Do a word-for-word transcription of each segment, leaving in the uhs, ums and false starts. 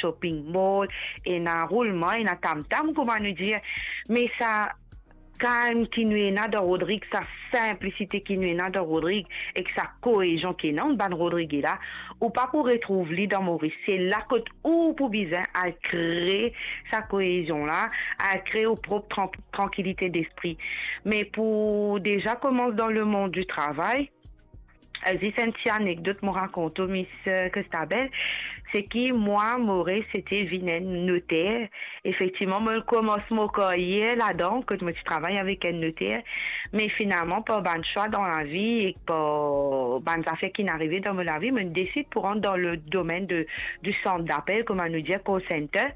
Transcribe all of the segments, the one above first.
shopping mall, ena roulman, ena tam-tam, kouma nou dir. Me sa kalm ki nou ena dan Rodrig, sa sinplisite ki nou ena dan Rodrig, ek sa koezion ki ena ant bann Rodrige la, ou pa pou retrouv li dan Moris. Se la kot ou pou bizin al kre sa koezion la, al kre ou prop tran-, trankilite despri. Me pou deza koumans dan lemond di travay, euh, zis enn ti anekdot mo rakont ou, Miss, euh, Christabel, se ki mwa, mo rev se te vinn enn noter. Efektivman, mo koumans mo karyer ladan, kot mo ti travay avek enn noter. Me finalman, par bann swa dan lavi ek par bann zafer ki'nn arive dan mo lavi, mo desid pou rant dan le domenn de, di sant dapel, kouma nou dir, call center.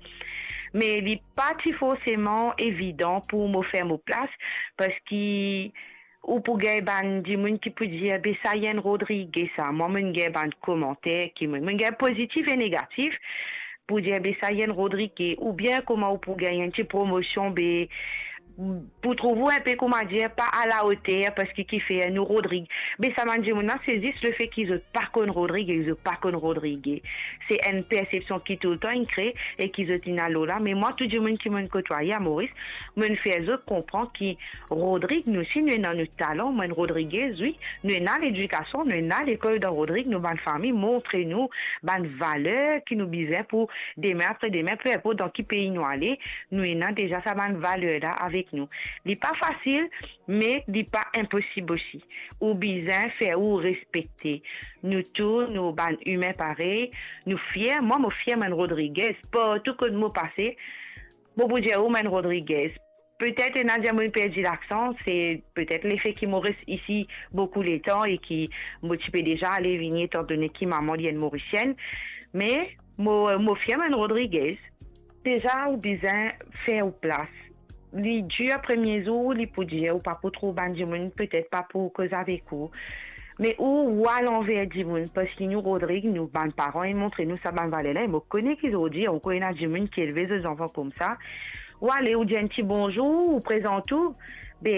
Me li pa ti forseman evidan pou mo fer mo plas, parski ou pou gagn bann dimoun ki pou dir, "Be sa enn Rodrige sa." Mwa, mo'nn gagn bann komanter ki, mo'nn, mo'nn gagn pozitif e negatif, pou dir, "Be sa enn Rodrige," oubien kouma ou pou gagn enn ti promosion, be pou trouv ou inpe, kouma dir, pa alaoter, parski ki fer nou Rodrig. Me sa bann dimoun la, se zis lefe ki zot pa konn Rodrig e zot pa konn Rodrige. Se enn persepsion ki toultan inn kre e ki zot inn al lor la. Me mwa, tou dimoun ki mo'nn kotwaye a Moris, mo'nn fer zot konpran ki Rodrig, nou si nou ena nou talan, mwa enn Rodrigez, wi, nou ena ledikasion, nou ena lekol dan Rodrig, nou bann fami montre nou bann valer ki nou bizin pou demin, apre demin, pe inport dan ki pei nou ale, nou ena deza sa bann valer la avek nou. Li pa fasil, me li pa inposib osi. Ou bizin fer ou respekte. Nou tou, nou bann imin parey, nou fier. Mwa, mo fier mo enn Rodrigez. Partou kot mo pase, mo pou dir ou mo enn Rodrigez. Petet ena dir mo'nn perdi laksan, se petet lefe ki mo res isi boukou letan e ki mo ti pe deza ale vini, etandone ki mama li enn Morisienn. Me mo, mo fier mo enn Rodrigez. Deza, ou bizin fer ou plas. Li dir, premie zour, li pou dir, ou pa pou trouv bann dimoun, petet pa pou koz avek ou. Me ou, ou al anver dimoun, parski nou, Rodrig, nou bann paran, inn montre nou sa bann valer la, e mo kone ki zordi ankor ena dimoun ki elve zot zanfan koumsa. Ou ale, ou dir enn ti bonzour, ou prezant ou. Be,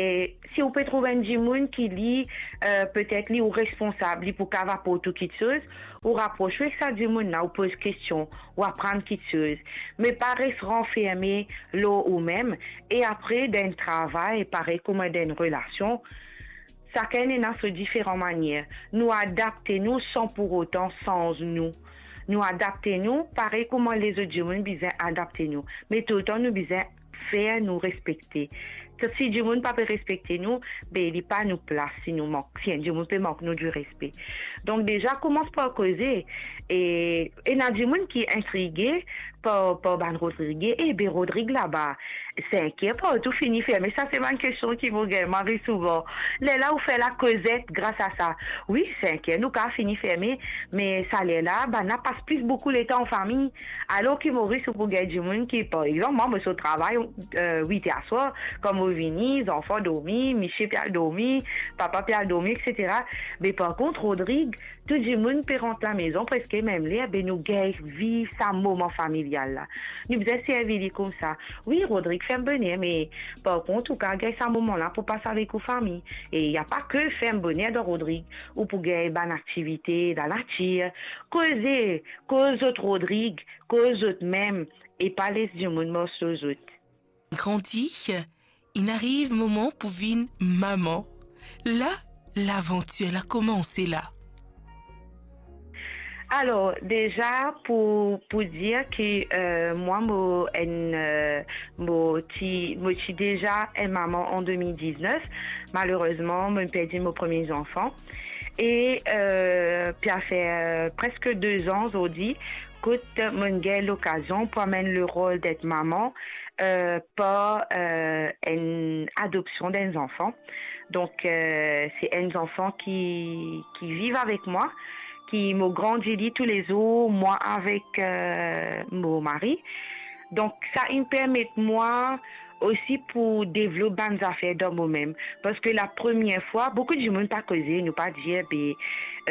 si ou pe trouv enn dimoun ki li, euh, petet li ou responsab, li pou kav aport ou kiksoz, ou rapros ou ek sa dimoun la, ou poz kestion, ou aprann kiksoz. Me pa res ranferme lor oumem. E apre, dan enn travay, parey kouma dan enn relasion, sakenn ena so diferan manier. Nou adapte nou san pou otan sanz nou. Nou adapte nou parey kouma lezot dimoun bizin adapte nou. Me toultan nou bizin fer nou respekte. Si dimoun pa pe respekte nou, be li pa nou plas si nou mank, si enn dimoun pe mank nou direspe. Donk deza koumans par koze. E ena dimoun ki intrige par, par bann Rodrige, "E be Rodrig laba, sink er partou fini ferme." Sa se bann kestion ki mo gagn mari souvan. Lerla ou fer lakozet gras a sa. Wi, sink er nou kav fini ferme, me sa lerla, bann la pas plis boukou letan an fami. Alor ki Moris, ou pou gagn dimoun ki, par exanp, mwa, mo sort travay, euh, wit er aswar, kan mo vini, zanfan dormi, misie pe al dormi, papa pe al dormi, et cetera. Me par kont, Rodrig, tou dimoun pe rant lamezon preske mem ler, be nou gagn viv sa moman familial la. Nou bizin servi li koumsa. Wi, Rodrig ferm boner, me par kont, ou kav gagn sa moman la pou pas avek ou fami. E na pa ke ferm boner dan Rodrig, ou pou gagn bann aktivite dan lanatir, koze, koz zot Rodrig, koz zot mem, e pa les dimoun mars lor zot. Grandi, inn ariv moman pou vinn mama. La, lavantir la koumanse la. Alor, deza pou, pou dir ki, euh, mwa, mo enn, euh, mo ti, mo ti deza enn mama an de mil diznef. Malerezman, mo perdi mo premie zanfan. E, euh, pe al fer, euh, preske de zan zordi, kot mo'nn gagn lokazion pou amenn lerol d'être maman, euh, par, euh, enn adopsion d'enn zanfan. Donk, euh, se enn zanfan ki, ki viv avek mwa, ki mo grandi li toulezour, mwa avek, euh, mo mari. Donk, sa inn permet mwa osi pou devlop bann zafer dan momem. Parski la premie fwa, boukou dimoun pa koze, nou pa dir, be,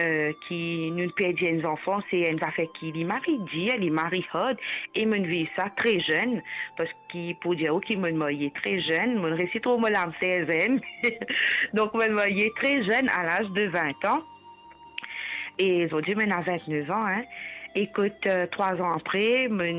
euh, ki nou perdi enn zanfan, se enn zafer ki li mari dir, li mari hard, e mo'nn viv sa tre zenn, parski pou dir ou ki mo'nn marye tre zenn, mo'nn resi trouv mo lamser zenn. Donk, mo'nn marye tre zenn, a laz de vin an. E zordi, mo'nn a vintnef an, hein. E kot, euh, trwa zan apre, mo'nn